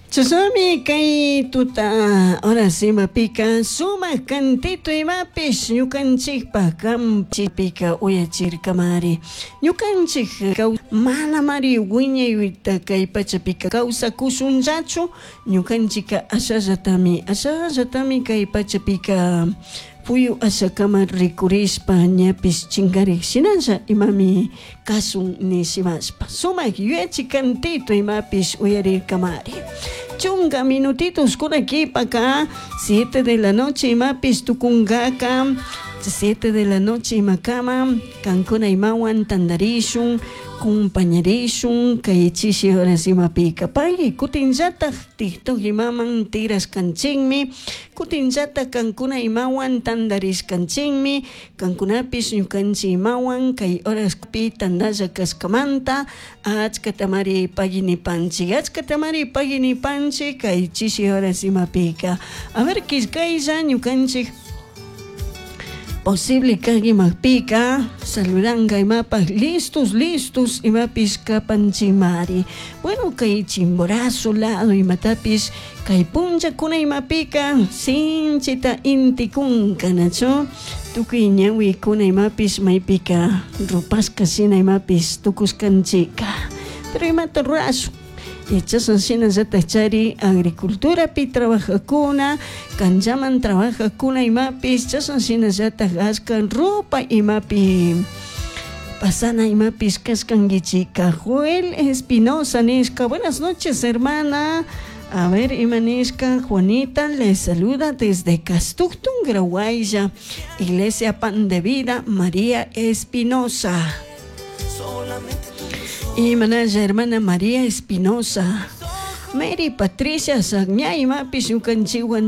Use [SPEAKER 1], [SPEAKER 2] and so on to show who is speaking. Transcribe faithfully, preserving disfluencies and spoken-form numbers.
[SPEAKER 1] Chashnami kay tuta horas imapika sumak cantito imapish ñukanchikpak kamchipika uyachirkamari ñukanchik manamari wiñayta kay pachapika kawsakushunllachu ñukanchika ashallatami ashallatami kay pachapika puyu ashakama rikurishpa ñapish chinkarik shinalla imami kasun nishimashpa sumak yuyachi cantito imapish uyarirkamari chunka minutitos kuna kipaka siete de la noche imapish tukunkaka siete de la noche imakama kankuna imawan tantarishun kumpañarishun kay chishi horas imapika pagui kutinllatak TikTok imaman tigrashkanchikmi kutinllatak kankuna imawan tantarishkanchikmi kankunapish ñukanchik imawan kay horaspi tantalla kashkamanta achkatamari pagui nipanchik achkatamari pagui nipanchik kay chishi horas imapika a ver killkaylla ñukanchik posible kak imapika saludanka imapak listos listos imapish kapanchimari bueno kay Chimborazo lado imatapish kay punllakuna imapika sinchita intikunka nachu tukuy ñawikuna imapish maypika rupashka shina imapish tukushkanchika pero imata rurashun chashna shinallatak chari agriculturapi trabajakuna kanchaman trabajakuna imapish chashna shinallatak ashka ropa imapi pasana imapish kashkankichika Joel Espinosa nishka buenas noches hermana a ver ima nishka Juanita les saluda desde Castuctun Grahuaylla Iglesia Pan de Vida María Espinosa y manalla hermana María Espinosa Mary Patricia Sagña imapish ñukanchikwan